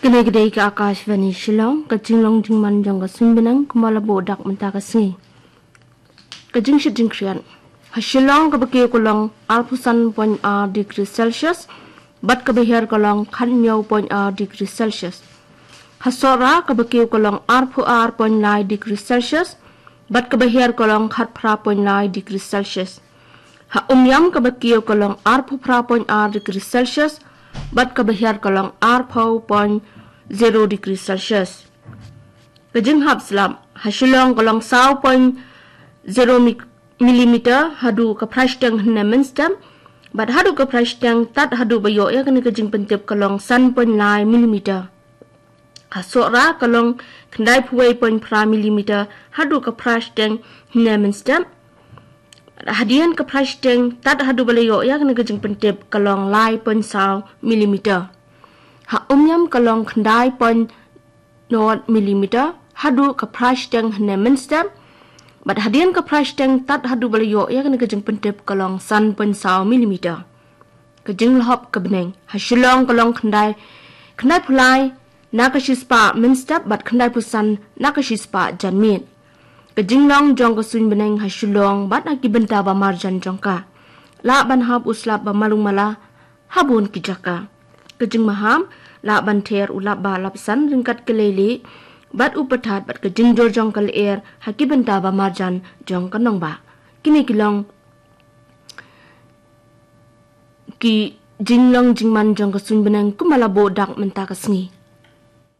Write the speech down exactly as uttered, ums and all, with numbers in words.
Kane ka dei ka Akashvani Shillong, ka jinglong jingman jong ka suiñ bneng kumba la buh dak mynta ka sngi. Ka jingshit jingkhriat. Ha Shillong kaba kiew ka long arphew san point ar degree Celsius, bad kaba hiar ka long khathynñiew point ar degree Celsius. Ha Sohra kaba kiew ka long arphew ar point lai degree Celsius, bad kaba hiar ka long khatphra point lai degree Celsius. Ha Umiam kaba kiew ka long arphew phra point ar degree Celsius, bad kaba hiar ka long arphew point zero degree Celsius. Ka jinghap slap. Ha Shillong ka long saw point zero mi-, millimeter haduh ka phra shiteng hynne mynstep, bad haduh ka phra shiteng tad haduh ba ïoh ïa kane ka jingpyntip ka long san point lai millimeter. Ha Sohra ka long khyndai phew wei point phra millimeter haduh ka phra shiteng hynne mynstep. Hadien ka phra shiteng tad haduh ba la ïoh ïa kane ka jingpyntip ka long lai point saw millimeter. Ha Umiam ka long khyndai point nod millimeter haduh ka phra shiteng hynne mynstep. Bad hadien ka phra shiteng tad haduh ba la ïoh ïa kane ka jingpyntip ka long san point saw millimeter. Ka jinglhop ka bneng. Ha Shillong ka long khyndai, khyndai phew lai na ka shispah mynstep bad khyndai phew san na ka shispah janmiet. Ka jinglong jong ka suiñ bneng ha Shillong bad ha ki bynta ba marjan jong ka. Lah ban hap u slap ba malung mala ha bun ki jaka. Ka jingmaham, lah ban ther u lap ba lap san ryngkat ka leilieh bad u pyrthat bad ka jingjur jong ka lyer ha ki bynta ba marjan jong ka nongbah. Kine ki long ki jinglong jingman jong ka suiñ bneng kumba la buh dak mynta ka sngi.